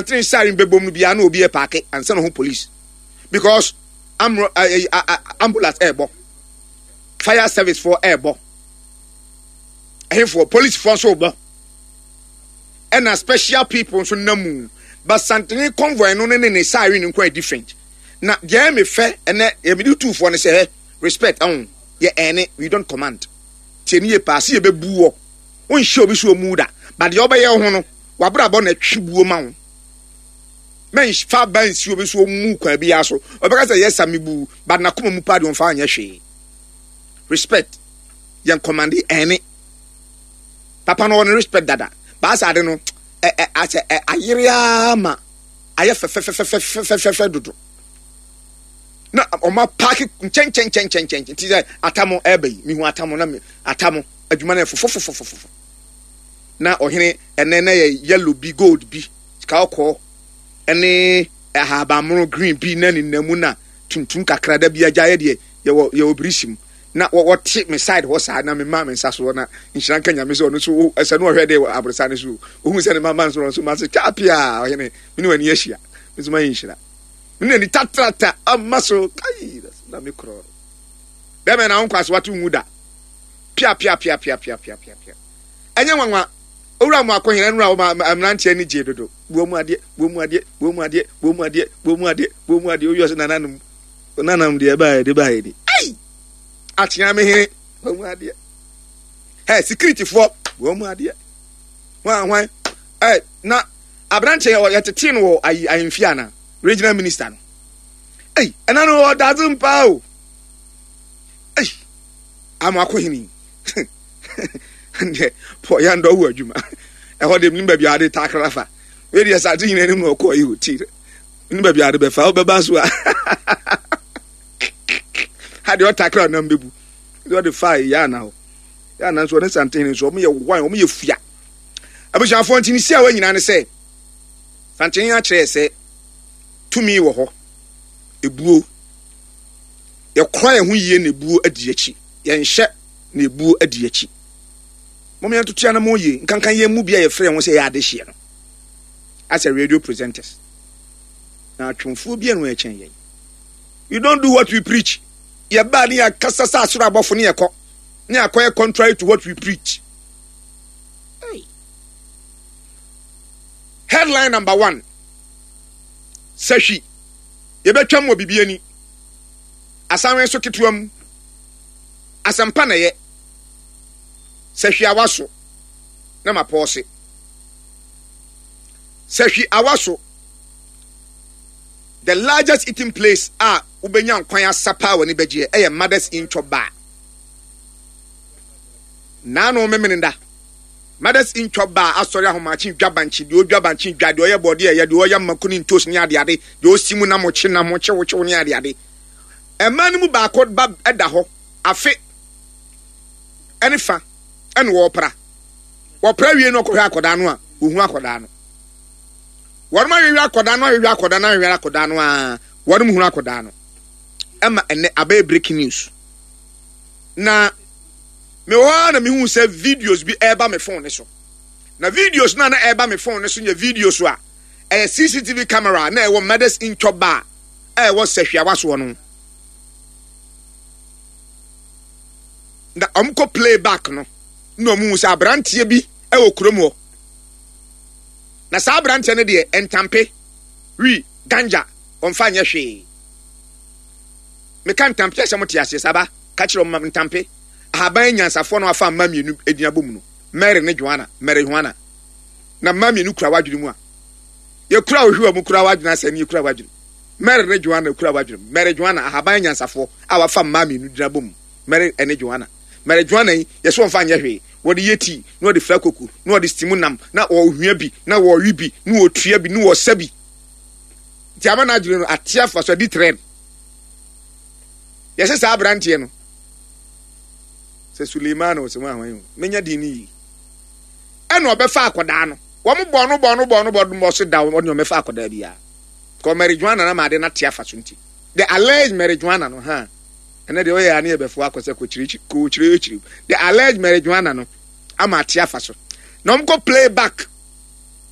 Asantene siren bɛbom no biara na obi ɛpaake ansa na ho police because amro ambulance ɛɛbɔ, fire service foɔ ɛɛbɔ, ɛhefoɔ police foɔ nso bɔ, ɛna special people nso nam mu. But Santene convoy no ne ne siren nko yɛ different. Na deɛ ɛyɛ me fɛ ɛnɛ yɛ mede tuufoɔ no sɛ ɛ respect ɛho yɛ ɛne we don't command. Tie ne yie paa se yɛbɛbu wɔ wonhyɛ obi so ɔmu da, but deɛ ɔbɛyɛ wo ho no wabrabɔ na ɛtwe buo ma wo. Mɛnfa ba nsi obi so ɔmu kwan biara so ɔbɛka sɛ yɛsa mebu, but nakoma mu paa deɛ ɔmfa anyɛ hwee. Respect yɛn command ɛne papa no ɔne respect dada baasa ade no ɛ ɛ asɛ ɛ ayere ara ma ayɛ fɛfɛfɛfɛfɛfɛfɛ dodo na ɔma paaki nkyɛnkyɛnkyɛnkyɛnkyɛn ti sɛ atamo ɛɛba yi mihu atamo na atamo adwuma no yɛ fofofofofofo na ɔhene ɛnɛ na yɛ yellow bi gold bi sika ɔkɔɔ ɛne ahabanmono green bi na ne namu na tuntum kakra da bi agya yɛ deɛ yɛwɔ yɛwɔ birisi mu na wɔte me side hɔ saa na mema me nsa soɔ na nhyira nka Nyame sɛ ɔno nso ɛsɛ no ɔhwɛ de aborosa no so ohun sɛ ne mama nso nso ma se twa pia ɔhene me ne w'ani ahyia me nso mayɛ nhyira me ne ani tatrata ama so kai na me korɔ bɛmɛ na wo nkɔ ase wato nwu da pia pia pia pia pia pia pia pia ɛnyɛ nwanwa owura mu akɔhene nura wo mmeranteɛ ani gye dodo buo mu adeɛ buo mu adeɛ buo mu adeɛ buo mu adeɛ buo mu adeɛ buo mu adeɛ owi ɔsɛ nananom Onanam deɛ ɛbaeɛ de baeɛ ni. Ei! Akyea me hene. Wɔn mu adeɛ. Ɛ sikiritifoɔ wɔn mu adeɛ. Hwan hwan. Ɛ na aberanteɛ yɛ yɛtetee no wɔ ayi ahemfie ana regional minister no. Ei ɛna no ɔdadze mpaa o. Ei ama akɔ hene. Deɛ pɔ yɛn dɔ wɔ adwuma. Ɛhɔ deɛ menim baabi a ade takra fa. Wei deɛ sase nyina anim na ɔkɔɔ yi o ti. Ne baabi ade bɛfa wobɛba so a ha deɛ ɔtakra ɔnam bɛbu deɛ ɔde fa yɛ ana hɔ yɛ ana nso ɔne santehene nso ɔmo yɛ wan ɔmo yɛ fua. Abusuafoɔ nti ne si a wɔn nyinaa ne sɛ santehene akyerɛ sɛ tumi wɔ hɔ, ebuo yɛkora yɛn ho yie na ebuo adi akyi, yɛnhyɛ na ebuo adi akyi. Mo yɛn toto anamɔ yie nkankan yɛn mu bi a yɛfrɛ yɛn ho sɛ yɛ adehyeɛ no asɛ radio presenters na atwomfoɔ bi a no ɛkyɛn yɛn. We don't do what we preach. Yɛbaa ne yɛakasa sɛ asoro abɔfo ne yɛkɔ ne akɔyɛ contrary to what we preach. Hey. Headline number one. Sahwi. Yɛbɛtwam wɔ biribi ani. Asanwe so ketewa mu. Asɛmpa na ɛyɛ. Sahwi awa so na mapɔɔse. Sahwi awa so. The largest eating place a wobɛnya nkwan asa paa w'ani bɛgyeɛ ɛyɛ Mothers Inn Chop Bar. Naano Memeneda, Mothers Inn Chop Bar asɔre ahomakye dwa bankye, deɛ ɔdwa bankye dwa, deɛ ɔyɛ bɔɔdeɛ ɛyɛ, deɛ ɔyɛ mako ne ntos ne adeade, deɛ ɔsi mu nam kye nam kyew kyew ne adeade. Mmaa no mu baako ba da hɔ afe ɛne fa ɛna wɔpra. Wɔpra wie no ɔkɔhwɛ akɔdaa no a, wɔhu akɔdaa no. Wɔnom ahwehwɛ akɔdaa no ahwehwɛ akɔdaa no ahwehwɛ akɔdaa no aa wɔnom hunu akɔdaa no. Ɛma ɛnɛ abɛyɛ breaking news. Na mewɔ hɔ ara na mehu sɛ videos bi ɛreba me phone ne so. Na videos no a na ɛreba me phone ne so yɛ videos a ɛyɛ CCTV camera na ɛwɔ Mothers Inn Chop Bar a ɛwɔ Sahwiawa soɔ no. Na wɔkɔ play back no na wɔn hu sɛ aberanteɛ bi ɛwɔ kurom hɔ. Na saa aberanteɛ no deɛ ntampe, wi, ganja, ɔmfa nyɛ hwee. Meka ntampe a sɛ mote aseɛ saa ba, ka kyerɛ ɔma ntampe. Ahaban nyansafoɔ na wafa mma mmienu edin abɔ mu no, Mary ne Joanna, Marijuana. Na mma mmienu kura w'adwene mu a, yɛkura wo hwewa mu kura w'adwene asɛ ne yɛkura w'adwene. Mary ne Joanna kura w'adwene mu. Mary Joanna, ahaban nyansafoɔ a wafa mmaa mmienu din abɔ mu. Mary ne Joanna. Marijuana yi, yɛsɛ wɔmfa nyɛ hwee. Wɔde yɛ tii, na wɔde fra koko, na wɔde steam nam, na wɔhua bi, na wɔwe bi, na wɔtua bi, na wɔsa bi. Nti ama n'adwene no ate afa so adi trend. Yɛsɛ saa aberanteɛ no sɛ Suleimana ɔsɛ mu ahwan o, menya din no yie. Ɛna ɔbɛfa akɔdaa no. Wɔn bɔ no bɔ no bɔ no bɔ no bɔ so da wɔn ɔmɛfa akɔdaa biara. Kɔ marijuana na maade no ate afa so nti. The alleged marijuana no ha. Ɛnɛ deɛ ɔyɛ a ne yɛbɛfo akɔ sɛ kɔkyerɛkyerɛ the alleged marijuana no ama ate afa so na wɔn kɔ play back.